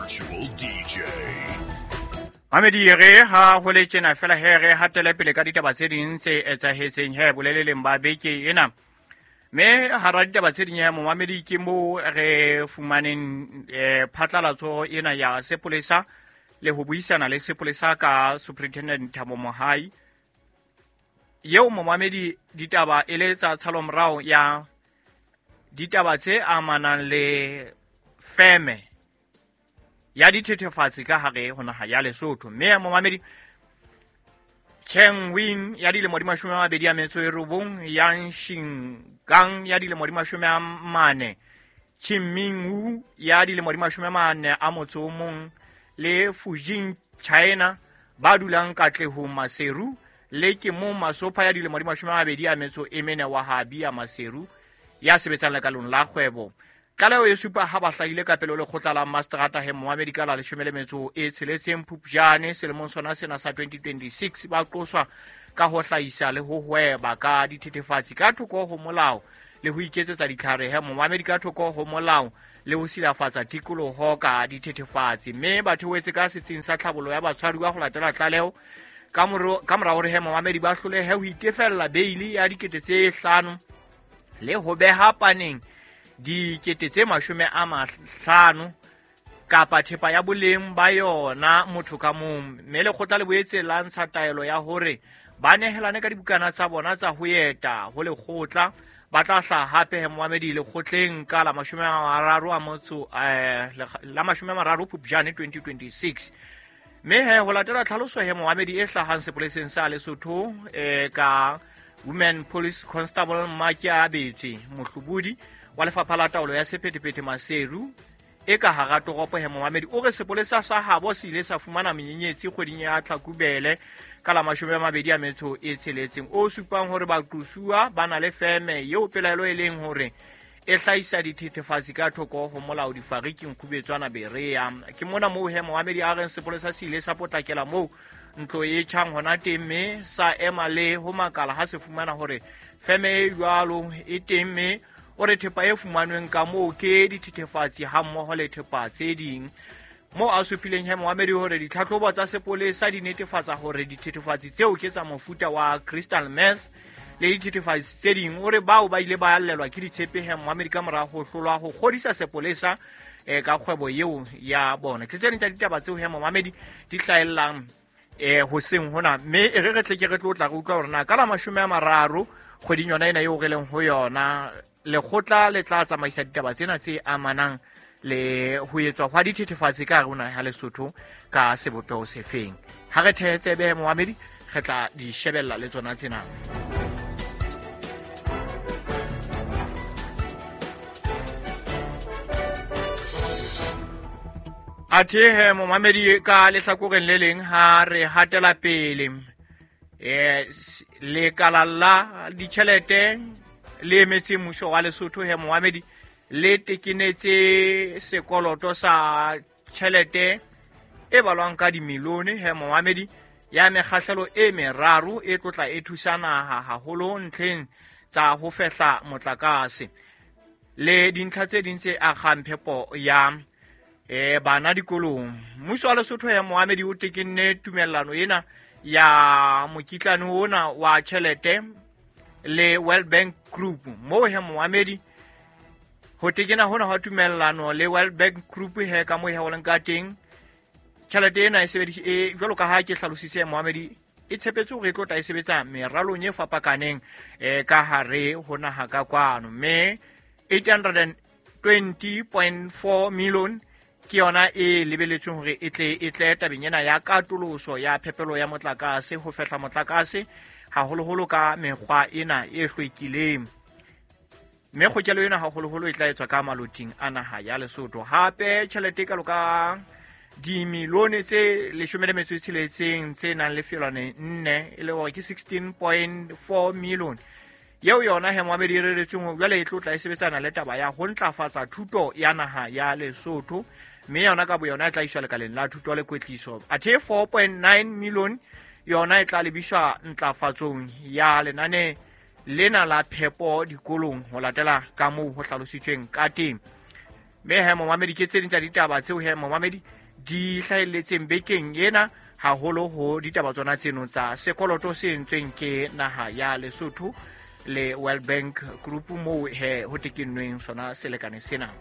Virtual DJ. Mamedi re ha ho le tjena fela he re hatele pele ka ditaba tse ding tse etsahetseng he boleleleng ba beke ena. Mme hara ditaba tse ding he momamedi ke moo re fumaneng phatlalatso ena ya sepolesa le ho buisana le sepolesa ka Superintendent Thabo Mohai. Yeo momamedi ditaba e le tsa tshalomorao ya ditaba tse amanang le feme ya dithethefatsi ka hare ho naha ya Lesotho. Mme momamedi Cheng Win ya dilemo di 29, Yang Xingang ya dilemo di 40, Qinming Wu ya dilemo di 41 le Fujin China ba dulang Katlehong Maseru le Kemong Masopha ya dilemo di 24 wa Habia Maseru ya sebetsang lekalong la kgwebo. Tlaleho e supa ha ba hlahile ka pele ho lekgotla la Mastrata he momamedi ka la 16 Phupjane selemong sona sena sa 2026 ba qoswa ka ho hlahisa le ho hweba ka dithethefatsi ka thoko ho molao le ho iketsetsa ditlhare he momamedi ka thoko ho molao le ho silafatsa tikoloho ka dithethefatsi. Mme ba theohetse ka setsing sa tlhabollo ya batshwaruwa ho latela tlaleho ka mora hore he momamedi ba hlolehe ho itefella beili ya 5,000 le ho beha paneng 50,000 kapa thepa ya boleng ba yona motho ka mong. Mme lekgotla le boetse la ntsha taelo ya hore ba nehelane ka dibukana tsa bona tsa ho eta ho lekgotla. Ba tla hlaha hape he momamedi lekgotleng ka la 30 Phupjane 2026. Mme he ho latela tlhaloso he momamedi e hlahang sepoleseng sa Lesotho ka Women Police Constable Mmakia Betswe Mohlobodi wa lefapha la taolo ya sephethephethe Maseru e ka hara toropo he momamedi o re sepolesa sa habo se ile sa fumana menyenyetsi kgweding ya Tlhakubele ka la 26 o supang hore baqosuwa ba na le feme eo pelaelo e leng hore e hlahisa dithethefatsi ka thoko ho molao difariking Khubetswana Berea. Ke mona moo he momamedi a reng sepolesa se ile sa potlakela moo ntlo e tjhang hona teng mme sa ema le ho makala ha se fumana hore feme e jwalo e teng mme o re thepa e fumanweng ka moo ke dithethefatsi ha mmoho le thepa tse ding. Moo a supileng he momamedi hore ditlhatlhobo tsa sepolesa di netefatsa hore dithethefatsi tseo ke tsa mofuta wa crystal meth le dithethefatsi tse ding. O re bao ba ile ba allelwa ke ditshepe he momamedi ka mora ho hlolwa ho kgodisa sepolesa ka kgwebo eo ya bona. Ke tse ding tsa ditaba tseo he momamedi di hlahellang hoseng hona. Mme e re re tle ke re tlo tla re utlwa hore na ka la 30 kgweding yona ena eo re leng ho yona lekgotla le tla tsamaisa ditaba tsena tse amanang le ho etswa hwa dithethefatsi ka hare ho naha ya Lesotho ka sebopeho sefeng. Ha re thehe tsebe momamedi re tla di shebella le tsona tsena. Athe momamedi ka lehlakoreng le leng ha re hatela pele lekala la ditjhelete le emetse mmuso wa Lesotho he momamedi le tekenetse sekoloto sa tjhelete e balwang ka dimilione he momamedi ya mekgahlelo e meraro e tlotla e thusa naha haholo ntlheng tsa ho fehla motlakase le dintlha tse ding tse akgang phepo ya bana dikolong. Mmuso wa Lesotho ya momamedi o tekenne tumellano ena ya mokitlane ona wa tjhelete le World Bank Group. Moo he momamedi ho tekena hona hwa tumellano le World Bank Group he ka moo he ho leng ka teng tjhelete ena e sebedis e jwalo ka ha ke hlalositse momamedi e tshepetse hore e tlo tla e sebetsa meralong e fapakaneng ka hare ho naha ka kwano. Mme 820.4 million ke yona e lebeletsweng hore e tle tabeng ena ya katoloso ya phepelo ya motlakase ho fehla motlakase haholoholo ka mekgwa ena e hlwekileng. Mme kgokelo ena haholoholo e tla etswa ka maloting a naha ya Lesotho. Hape tjhelete e kalo ka dimilione tse 16 tse nang le felwane 4 e le hore ke 16.4 million yeo yona he momamedi e reretsweng hore jwale e tlo tla e sebetsana le taba ya ho ntlafatsa thuto ya naha ya Lesotho. Mme yona ka boyona e tla iswa lekaleng la thuto le kwetliso. Athe 4.9 million yona e tla lebiswa ntlafatsong ya lenane lena la phepo dikolong ho latela ka moo ho hlalositsweng ka teng. Mme he momamedi ke tse ding tsa ditaba tseo he momamedi di hlahelletseng bekeng ena, haholo ho ditaba tsona tseno tsa sekoloto se entsweng ke naha ya Lesotho le World Bank Group, moo he ho tekennweng sona selekane sena.